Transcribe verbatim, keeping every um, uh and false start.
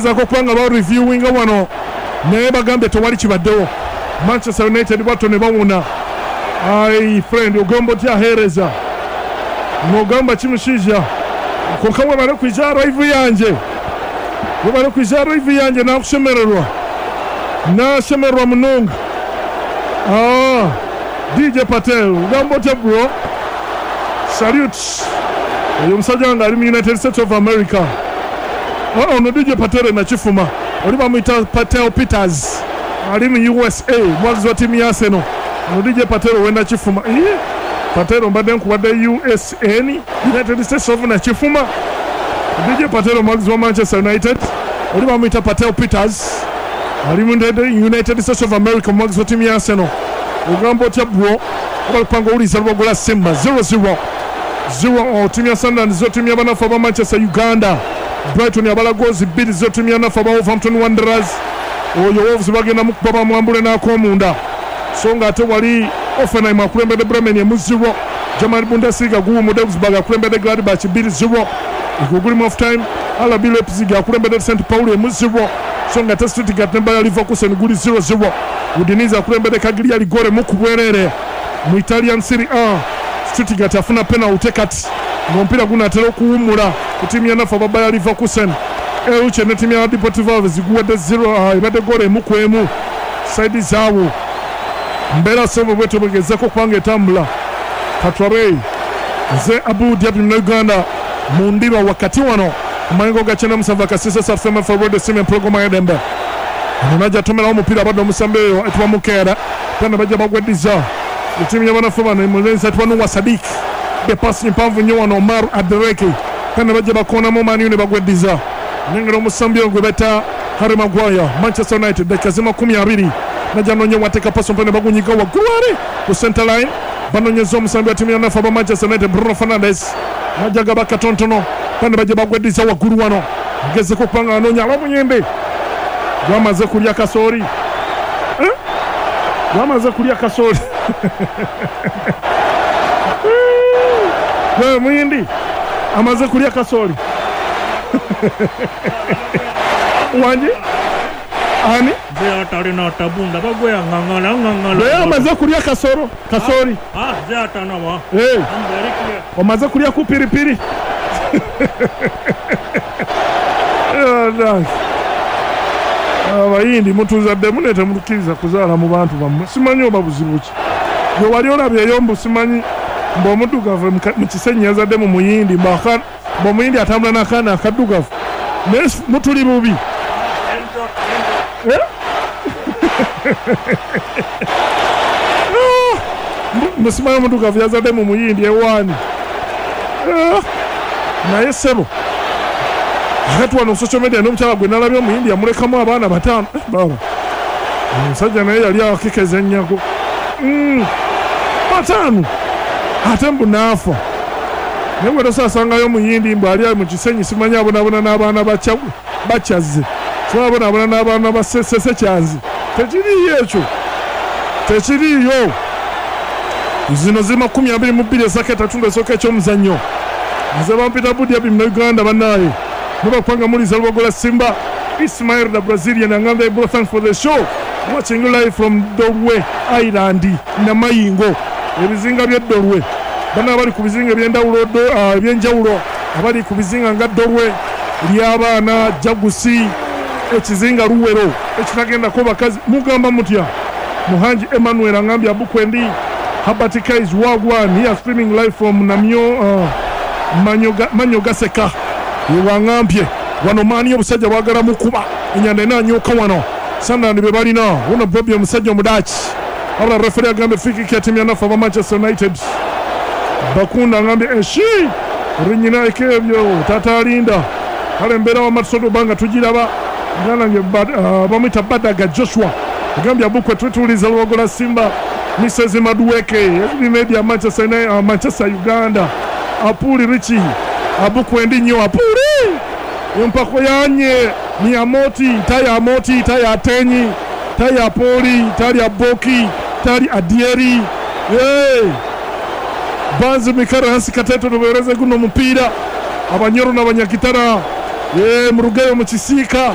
Bagezaako okuba nga bareviewinga wano, naye bagambye tewali kibaddewo. Manchester United bwatyo ne bawona. Ai friend, ogamba otya? Aheereza nogamba kimushiija konka webale kwija live yanje, webale kwija live yanje. Nakushemererwa, nashemererwa munonga. Ah, D J Patel, ogamba otya bro? Salute. Oyo omusajja wange ali mu United States of America. Oh, ono D J Patel nakifuma, oli bamuyita Patel Peters, ali mu U S A, mwagizi wa tiimu ya Arsenal. Ono D J Patel owenda kifuma. Iye, Patel, mbadde nkuwadde U S N, United States of nakifuma. D J Patel mwagizi wa Manchester United, oli bamuyita Patel Peters, ali mu United States of America, mwagizi wa tiimu ya Arsenal. Ogamba otya bro? Obalupanga owuliza Lwogola Simba zero zero zero tiimu ya Sunderland zo tiimu y'abanafu aba Manchester Uganda. Brighton yabala goals bbiri zo tiimu y'anafu aba Wolverhampton Wanderers. Oyo Wolves bagenda mukuba bamwambule n'ak'omunda, so nga ate wali Hoffenheim akulembedde Bremen emu zero. German Bundesliga guwumudde, Augsburg akulembedde Gladbach bbiri zero, egwo gulimu off time. R B Leipzig akulembedde Saint Pauli emu zero, so nga ate Stuttgart ne Bayer Leverkusen guli zero zero. Udinese akulembedde Cagliari goal emu ku bwereere. Mu Italian Serie A, Stuttgart afuna penalty kati ng'omupiira gunaatera okuwummula ku ttiimu ya nafu aba Bayer Leverkusen. Elche ne ttiimu ya Deportivo Alaves guwadde zero, ebadde goal emu ku emu side zaabwe. Mbeera sebo bwetyo bwegezako okubanga etambula. Katwabe nze Abu Diaby Munauganda mu ndiba wakati wano ku mayengo ga kyenda musanvu akasisa safm forward simu empologoma y'eddembe. Ono najja atomerawo omupiira, abadde omusambi eyo etwa Mukeera tena bajja bagweddiza ettiimu y'abanafu bano. Mulenzi atwa Nuwa Sadik de pasi mpanvu nnyo wano Omar Adereke, tena bajja bakoonamu Man U ne bagweddiza. Nengera omusambi oyo gwe beta Harry Maguire, Manchester United. Dakika zi makumi abiri, najja nonye wateeka paso mpene, bagunyiga waggulu ali ku center line, banonyeza omusambi wa ttiimu yanafu aba Manchester United Bruno Fernandes, najja gaba katonotono pene, bajja bagweddiza waggulu wano, gezeko okubanga anoonya abamuyembe. Gwamaze kulya kasooli. Eh? Gwamaze kulya kasooli. Gwe muyindi amaze kulya kasooli wanje ani? Nze atalina tabunda bagweyaŋŋaŋala ŋŋaŋala. Naye amaze kulya kasoro kasooli. Ah, nze atanawa. Eh, I'm very clear. Omaze kulya ku piripiri. Eh, nange. Abayindi mutuzaddemu naye temutukkiriza kuzaala mu bantu bammwe. Simanyi oba buzibu ki gwe wali olabyeyo mbu simanyi mbu omuddugavu mu ka- mu Kisenyi yazadde mu muyindi, mbu aka- mbu omuyindi atambula n'akaana akaddugavu, naye s- mutuli bubi. Eh? Ah, mbu- mbu simanyi omuddugavu yazadde mu muyindi ewaani. Ah, naye ssebo akati wano social media n'omukyala gwe nalabye omuyindi yamulekamu abaana bataano. Eh, baba omusajja naye yali akikeza ennyago. Mm, bataano ate mbu naafa, naye bwe tosaasangayo omuyindi mbu ali mu Kisenyi simanyi abonaabona n'abaana bakya- bakyazze, simanyi abonaabona n'abaana ba Sesekyanzi. Tekiriiyo ekyo, tekiriiyo. Zino ziri makumi abiri mu bbiri esaka etatundu esooka ekyomuzannyo. Nze bampita Budyabi Munauganda. Bannaaye mubakubanga muliza Lubogola Simba. Ismail the Brazilian angamba, "Bro, thanks for the show, watching you live from Dolwe Island, Namayingo." Ebizinga by'eddolwe, bana abali ku bizinga ebyendawulo do- ah, ebyenjawulo, abali ku bizinga nga Dolwe ly'abaana, Jagusi, ekizinga Luwero ekitagendako bakazi, mugamba mutya? Muhanji Emmanuel angambye, "Abukwendi Habert Kais wagwan here, streaming live from Namyo, uh, Manyoga, Manyogaseka." Yewaŋambye wano maani obusajja bwagala mukuba enyanda enanyuka wano. Sunderland be balina wuno Bobi, omusajja omudaaki, wabula referi agambye free kick ya tiimu ya nafu aba Manchester United. Bakunda agambye eshi rinyina ekebyo tata alinda kale embeera wamatusodo obanga tugiraba. Muganda nge bamwita Badaga Joshua agambye, "Abukwe tutuuliza Lwogola Simba." Misezi Maduweke S B Media, Manchester, United- uh, Manchester Uganda. Apuli Richi, abukwendi nnyo apuli empako yanye ni amoti taya amoti taya atenyi taya apoli tali aboki tali adieri. Hey! Banzi mikara hansi kateto tubereze guno mupiira abanyoro n'abanyakitara. Ye murugeyo mu kisiika.